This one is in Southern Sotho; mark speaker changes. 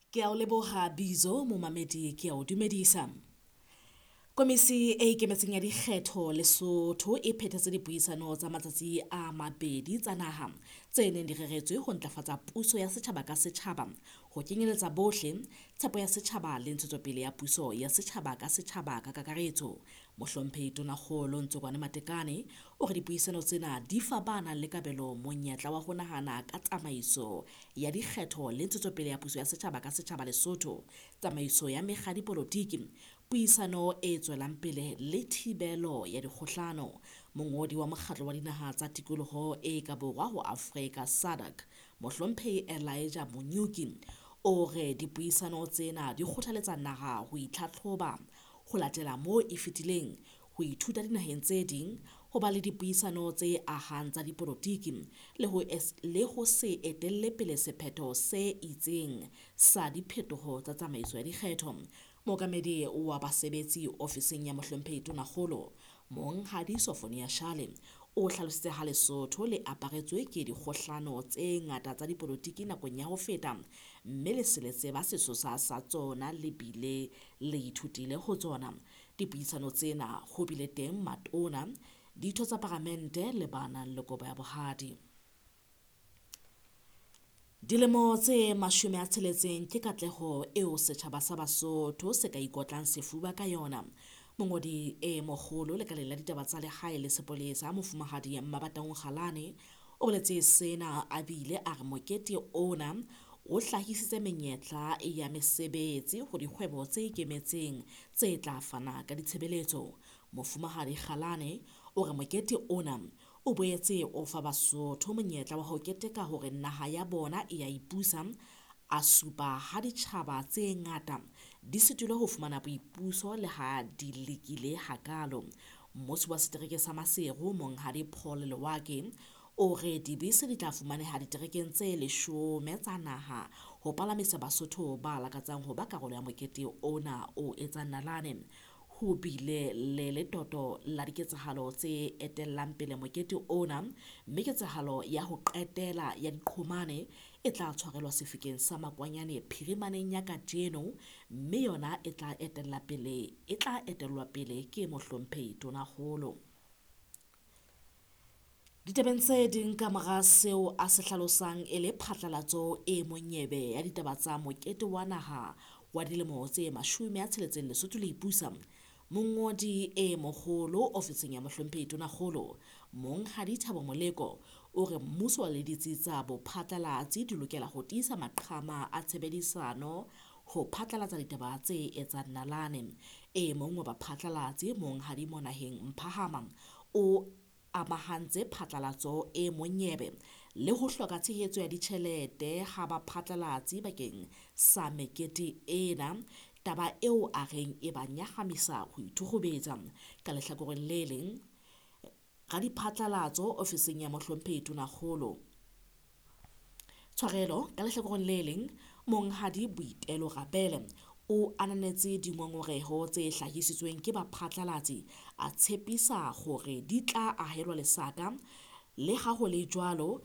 Speaker 1: Ke a o leboha Bizo, momamedi ke a o dumedisa. Komisi e ikemetseng ya dikgetho Lesotho e phethetse dipuisano tsa matsatsi a mabedi tsa naha tse neng di reretswe ho ntlafatsa puso ya setjhaba ka setjhaba, ho kenyeletsa bohle, tshepo ya setjhaba le ntshetsopele ya puso ya setjhaba ka setjhaba ka kakaretso. Mohlomphehi Tonakgolo Ntsokoane Matekane o re dipuisano tsena di fa ba nang le kabelo monyetla wa ho nahana ka tsamaiso ya dikgetho le ntshetsopele ya puso ya setjhaba ka setjhaba Lesotho, tsamaiso ya mekga ya dipolotiki, puisano e tswelang pele le thibelo ya dikgohlano. Mongodi wa Mokgatlo wa Dinaha tsa Tikoloho e ka Borwa ho Afrika SADC, Mohlomphehi Elijah Munyuki o re dipuisano tsena di kgothaletsa naha ho itlhatlhoba, ho latela moo e fetileng, ho ithuta dinaheng tse ding, ho ba le dipuisano tse ahang tsa dipolotiki le ho se etelle pele sephetho se itseng sa diphetoho tsa tsamaiso ya dikgetho. Mookamedi wa basebetsi ofising ya Mohlomphehi Tonakgolo, Monghadi Sofonia Shale, o hlalositse ha Lesotho le aparetswe ke dikgohlano tse ngata tsa dipolotiki nakong ya ho feta, mme le se le tseba sesosa sa tsona le bile le ithutile ho tsona. Dipuisano tsena ho bile teng matona, ditho tsa paramente le ba nang le kobo ya bohadi. Dilemo tse 60 ke katleho eo setjhaba sa Basotho se ka ikotlang sefuba ka yona. Mongodi e moholo lekaleng la ditaba tsa lehae le sepolesa, Mofumahadi Mmabatong Galane, o boletse sena a bile a re mokete ona o hlahisitse menyetla ya mesebetsi ho dikgwebo tse ikemetseng tse tla fana ka ditshebeletso. Mofumahadi Galane o re mokete ona o boetse o fa Basotho monyetla wa ho keteka hore naha ya bona e a ipusa, a supa ha ditjhaba tse ngata di sitilwe ho fumana boipuso le ha di lekile hakaalo. Mmusi wa setereke sa Maseru, Monghadi Paul Lewake, o re dibese di tla fumaneha diterekeng tse 10 tsa naha ho palamisa Basotho ba lakatsang ho ba karolo ya mokete ona o etsang nalane. Ho bile le letoto la diketsahalo tse etellang pele mokete ona, mme ketsahalo ya ho qetela ya diqhomane e tla tshwarelwa sefikeng sa Makwanyane phirimaneng ya kajeno, mme yona e tla etellwa pele ke Mohlomphehi Tonakgolo. Ditabeng tse ding ka mora seo a se hlalosang e le phatlalatso e monyebe ya ditaba tsa mokete wa naha wa dilemo tse 60 Lesotho le ipusa, mongodi e moholo ofising ya Mohlomphehi Tonakgolo, Monghadi Thabo Moleko, o re mmuso le ditsi tsa bophatlalatsi di lokela ho tiisa maqhama a tshebedisano ho phatlalatsa ditaba tse etsang nalane. E mong wa baphatlalatsi, Monghadi Monaheng Mphahama, o amahantse phatlalatso e monyebe le ho hloka tshehetso ya ditjhelete ha baphatlalatsi bakeng sa mekete ena, taba eo a reng e ba nyahamisa ho ithukgubetsa. Ka lehlakoreng le leng, radiphatlalatso ofising ya Mohlomphehi Tonakgolo, tshwarelo, ka lehlakoreng le leng, Monghadi Boitelo Rabele o ananetse dingongoreho tse hlahisitsweng ke baphatlalatsi, a tshepisa hore di tla ahelwa lesaka. Le ha ho le jwalo,